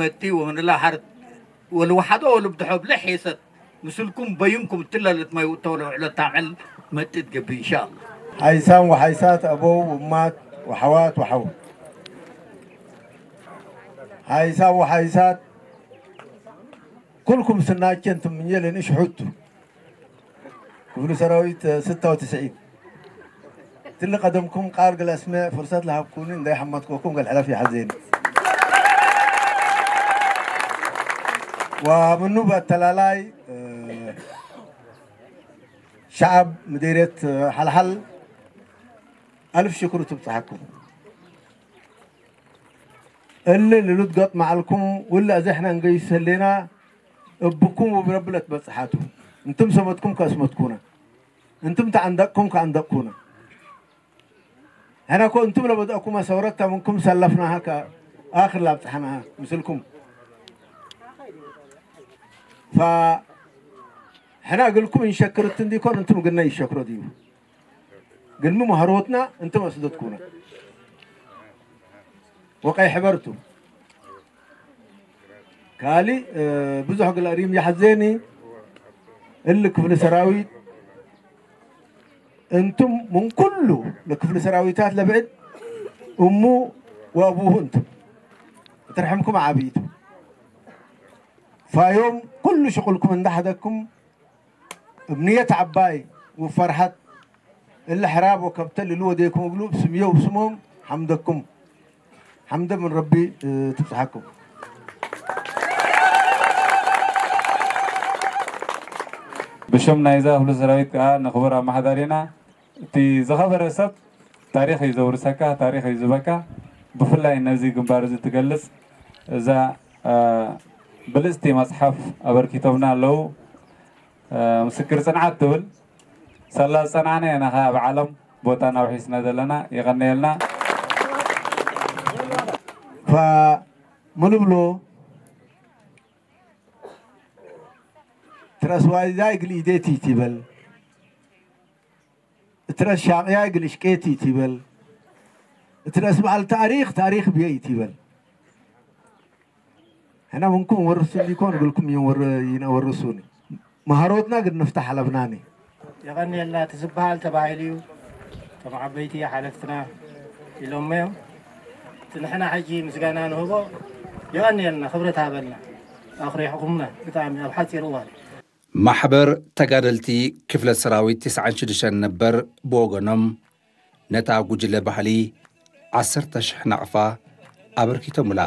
መጢ ወንላ ሓርት ወልወሓዶ ወልብድሖ ብለ ሔሰት ምስልኩም በዩምኩም እትለለት ማይ ውእቶ ለውዕሎ ታዕል መጢ ትገብእ ኢንሻአላ። ሓይሳን ወሓይሳት ኣበው እማት ወሓዋት ወሓው ሓይሳን ወሓይሳት ኩልኩም ስናቸን ትምኘ ለንእሽ ሑቱ ክፍሉ ሰራዊት ስታው ትስዒት ትል ቀደምኩም ቃል ግለስመ ፍርሰት ለሃብኩኒ እንዳይ ሓማትኮኩም ገል ሕለፍ ይሓዘኒ ወምኑ በተላላይ ሸዓብ ምዴርየት ሓልሓል ኣልፍ ሽክሩ ትብፅሓኩም እሊ ልሉት ገጥ መዓልኩም ውላ እዚ ሕና እንገይሱ ህሌና እብኩም ወብረብለት በፅሓቱ እንትም ሰመትኩም ከስመትኩና እንትም ተዓንደቅኩም ከዓንደቅኩና ሕና ኮ እንትም ለበድአኩማ ሰውረታ ምንኩም ሰለፍናሃ ከ ኣክር ላብፅሓናሃ ምስልኩም ፋ ሕና እግልኩም እንሸክርት እንዲኮን እንትም ግና ይሸክሮ ድዩ ግልሚ ማህሮትና እንትም ኣስደትኩና ወቀይ ሕበርቱ ካሊ ብዙሕ ግላ ሪም ይሓዘኒ እል ክፍሊ ሰራዊት እንቱም ምን ኩሉ ለክፍሊ ሰራዊታት ለብዕድ እሙ ወአቡሁ እንቱም እትርሕምኩም ዓብይቱ ፋዮም ኩሉ ሽቁልኩም እንዳሓደኩም እብ ንየት ዓባይ ውፈርሓት እለ ሕራብ ወከብተ ልሉ ወዴኩም እግሉ ብስምዮ ብስሞም ሓምደኩም ሓምደ ምን ረቢ ትብፅሓኩም። ብሽም ናይዛ ክፍለ ሰራዊት ከዓ ንክቡር ኣመሓዳሪና እቲ ዝኸበረ ሰብ ታሪኽ እዩ ዘውርሰካ፣ ታሪኽ እዩ ዝበካ። ብፍላይ ነዚ ግንባር እዚ ትገልፅ እዛ ብልፅቲ መፅሓፍ ኣበርኪቶምና ኣለዉ። ምስክር ፅንዓት ትብል ሳላ ዝፀናዕና ኢና ከዓ ኣብ ዓለም ቦታና ውሒስና ዘለና። የቐንየልና። فملبلو ترسواي زاي قل إيديتي تيبل ترس شاقيا قل إشكيتي تيبل ترس بعل تاريخ تاريخ بيي تيبل ሕና ምንኩም ወርሱኒ ይኮን ግልኩም ይወርሱኒ መሃሮትና ግን ንፍታሕ ኣለብናኒ። የቐንየልና እቲ ዝበሃል ተባሂሉ እዩ። እቶም ዓበይቲ ሓለፍትና ኢሎሞ እዮም። እቲ ንሕና ሕጂ ምስጋና ንህቦ የቐንየልና፣ ክብረት ሃበልና። ኣኹሪሕኹምና ብጣዕሚ ኣብ ሓፂር እዋን። ማሕበር ተጋደልቲ ክፍለ ሰራዊት ተስዓን ሽዱሽተን ነበር ብወገኖም ነታ ጉጅለ ባህሊ ዓሰርተ ሽሕ ናቕፋ ኣበርኪቶምላ።